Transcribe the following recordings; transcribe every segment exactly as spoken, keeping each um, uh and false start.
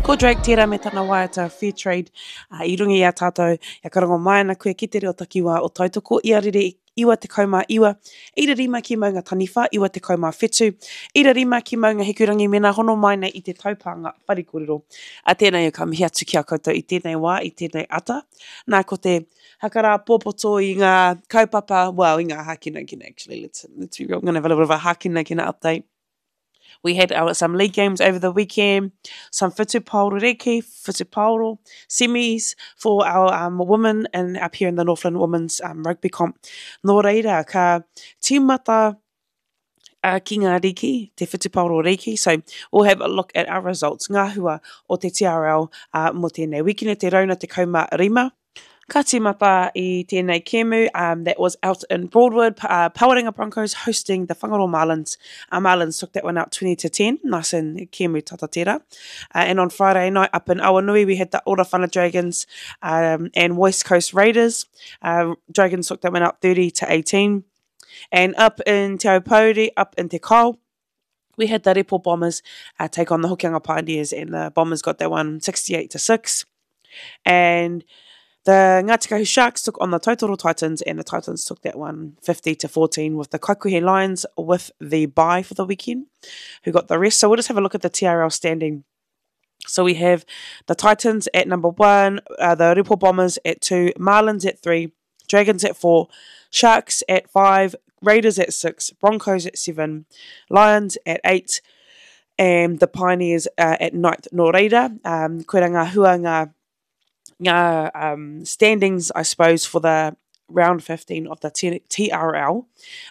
Ko Drake tērā me tana waiata Fair Trade uh, i runga i a tātou, ia karango mai ana koe ki te reo takiwā o Tautoko i a rere iwa tekau mā iwa, ira rima ki Maunga Taniwha, iwa tekau mā whetu, ira rima ki Maunga Hikurangi mēnā hono mai nei i te taupānga whare kōrero. A tēnei ka mihi atu ki a koutou i tēnei wā, i tēnei ata. Nā, ko te hakarāpōpoto i ngā kaupapa, well, i ngā hākinakina actually, let's, let's be real, I'm gonna have a little bit of a hākinakina update. We had our, some league games over the weekend, some whutupaoro reki, whutupaoro semis for our um, women and up here in the Northland Women's um, Rugby Comp. Nō reira, ka tīmata uh, ki ngā riki, te whutupaoro riki. So we'll have a look at our results, ngā hua o te T R L uh, mō tēnei wikine, te rauna tekau mā rima. Ka tīmata i tēnei kēmu um, that was out in Broadwood, uh, Pawarenga Broncos hosting the Whangaroa Marlins. Uh, Marlins took that one out twenty to ten, nice and kēmu tata tērā. Uh, and on Friday night up in Awanui, we had the Orowhana Dragons um, and West Coast Raiders. Uh, Dragons took that one out thirty to eighteen. And up in Te Aupōuri, up in Te Kao, we had the Repo Bombers uh, take on the Hokianga Pioneers, and the Bombers got that one sixty-eight to six. And the Ngāti Kahu Sharks took on the Tautoro Titans, and the Titans took that one fifty to fourteen, with the Kaikuhe Lions with the bye for the weekend, who got the rest. So we'll just have a look at the T R L standing. So we have the Titans at number one, uh, the Repo Bombers at two, Marlins at three, Dragons at four, Sharks at five, Raiders at six, Broncos at seven, Lions at eight, and the Pioneers uh, at ninth. Nō reira, um, koira ngā hua ngā, ngā um, standings, I suppose, for the round fifteen of the T- TRL.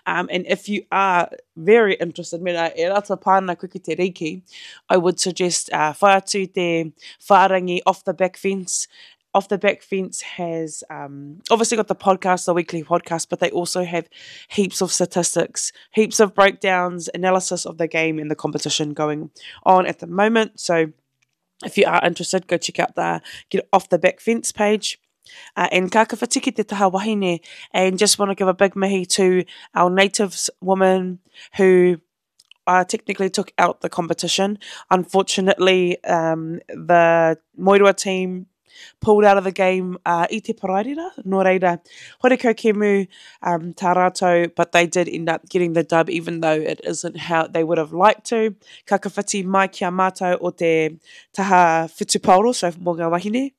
Um, and if you are very interested, mena e rata pāna koe ki te riki, I would suggest uh, whai atu te whārangi Off the Back Fence. Off the Back Fence has um, obviously got the podcast, the weekly podcast, but they also have heaps of statistics, heaps of breakdowns, analysis of the game and the competition going on at the moment. So if you are interested, go check out the Get Off the Back Fence page. Uh, and ka whakawhiti ki te taha wahine, and just want to give a big mihi to our natives woman who uh, technically took out the competition. Unfortunately, um, the Moeroa team pulled out of the game uh, i te Paraire, nō reira, horekau kēmu um, tā rātou, but they did end up getting the dub, even though it isn't how they would have liked to. Ka whakawhiti mai ki a mātou o te taha whutupaoro, so mō ngā wahine.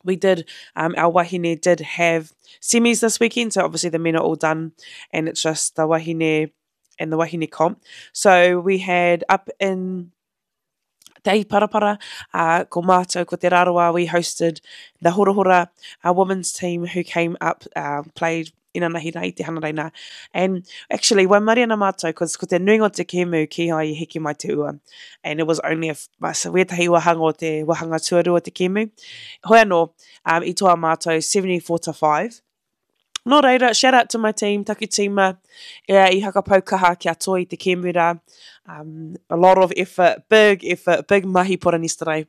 We did, um, our wahine did have semis this weekend, so obviously the men are all done, and it's just the wahine and the wahine comp. So we had up in Te Parapara, uh, ko mātou, ko Te Rarawa, we hosted the Horahora uh, women's team who came up, uh, played inanahi rā i te Hanarei. And actually, waimarie ana mātou, cause ko te nuinga o te kēmu kīhai i heke mai te ua. And it was only a, so wētahi wahanga o te wahanga tuarua o te kēmu. Hoi anō, um, i toa mātou seventy-four to five. Nō reira, shout out to my team, taku tīma, e, i hakapau kaha kia toa i te kēmu rā. Um, a lot of effort, big effort, big mahi poranistarai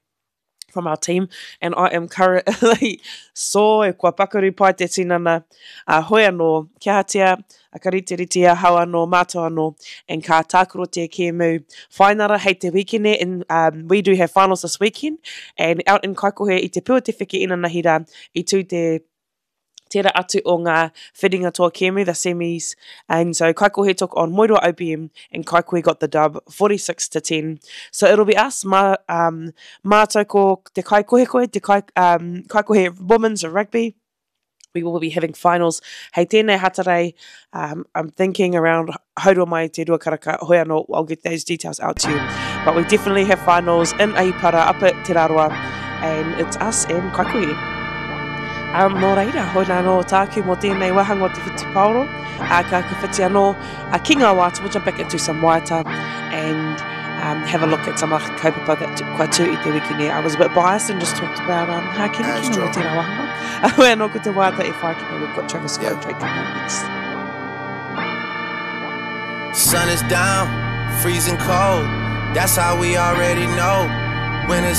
from our team, and I am currently sore, kua pakaru pai te tinana, uh, hoi anō, kia hatia, a ka rite rite ahau anō, mātou anō, and ka tākaro te kēmu whainara hei te wikene, and um, we do have finals this weekend, and out in Kaikohe i te pua te wheke inanahi rā, i tū te tērā atu o ngā whiringa toa kēmu, the semis. And so Kaikohe took on Moeroa O B M and Kaikohe got the dub forty-six to ten. So it'll be us, mā, um, mātou ko te Kaikohekohe, te kai, um, Kaikohe Women's Rugby. We will be having finals hei tēnei Hatarei. Um, I'm thinking around haurua mai te rua karaka, hoi anō, I'll get those details out to you. But we definitely have finals in Ahipara up at Te Rarawa, and it's us and Kaikohe. Um, nō reira, hoi nā nō tāku mō tēnei wahanga o te whutupaoro. Uh, ka whakawhiti anō uh, ki ngā waiata, we'll jump back into some waiata and um, have a look at some other kaupapa that kua tū i te wiki nei. I was a bit biased and just talked about um, hākinakina mō tērā wahanga. Hoi anō ko te waiata e whai ki nei, we've got Travis Scott and Drake coming up next. Sun is down, freezing cold. That's how we already know. Winter's